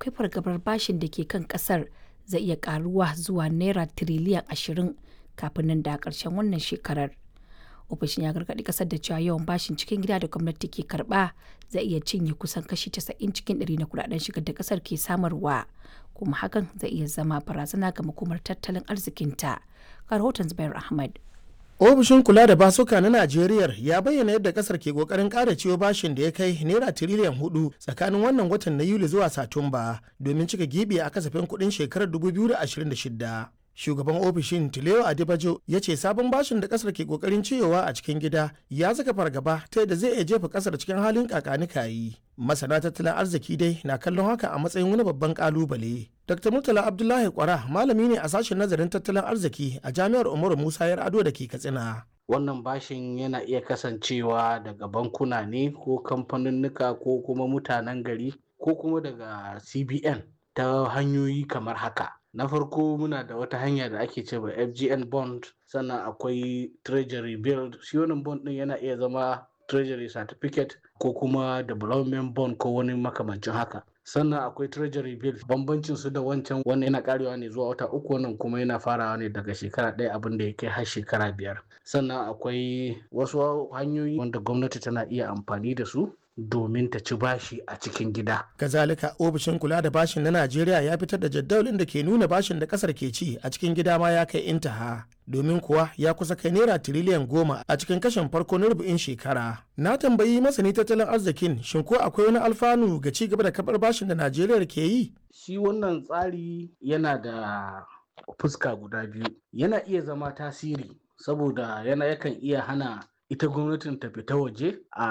akwai fargabar bashin da ke kan kasar zai iya karuwa zuwa naira tiriliyan 20 kafin nan da karshen wannan shekarar. Ofishin ya gargaɗi kasar da cewa yawan bashin cikin gida da gwamnati ke karba zai iya cinye kusan kashi 90 cikin 100 na kudaden shigar da kasar ke samarwa, kuma hakan zai iya zama barazana ga makomar tattalin arzikinta. Ga rahoton Zubair Ahmad. Ofishin kula da basuka na Najeriya ya bayyana yadda kasar ke kokarin ƙara ciwo bashin da ya kai naira tiriliyan 4 tsakanin wannan watan na Yuli zuwa Satumba domin cika gibi a kasafin kuɗin shekarar 2026. Shugaban ofishin, Tilewa Adibajo, ya ce sabon bashin da kasar ke kokarin ciyowa a cikin gida ya saka fargaba ta yadda zai iya jefa kasar cikin halin kakanikayi. Masana tattalin arziki dai na kallon haka a matsayin wani babban kalubale. Dr. Murtala Abdullahi Kwara malami ne a sashen nazarin tattalin arziki a Jami'ar Umaru Musa Yar'adua da ke Katsina. Wannan bashin yana iya kasancewa daga bankuna ne ko kamfaninnika ko kuma mutanen gari ko kuma daga CBN ta hanyoyi kamar haka. Na farko, muna da wata hanya da ake cewa FGN bond, sannan akwai treasury bill. Shi wannan bond din yana iya zama treasury certificate ko kuma development bond ko wani makamancin haka. Sannan akwai treasury bill. Bambancin su da wancan, wannan yana karewa ne zuwa wata 3, wannan kuma yana farawa ne daga shekara 1 abin da ya kai har shekara 5. Sannan akwai wasu hanyoyi wanda gwamnati tana iya amfani da su domin ta ci bashi a cikin gida. Kazalika, ofishin kula da bashin na Najeriya ya fitar da jadawalin da ke nuna bashin da kasar ke ci a cikin gida ma ya kai intaha. Domin kuwa ya kusa kai naira tiriliyan 10 a cikin kashin farko na rubu'in shekara. Na tambayi masani tattalin arzikin, shin ko akwai wani alfanu ga ci gaba da kabar bashin da Najeriya ke yi? Shi wannan tsari yana da fuska guda biyu. Yana iya zama tasiri saboda yana yakan iya hana ita gwamnatin ta fita waje a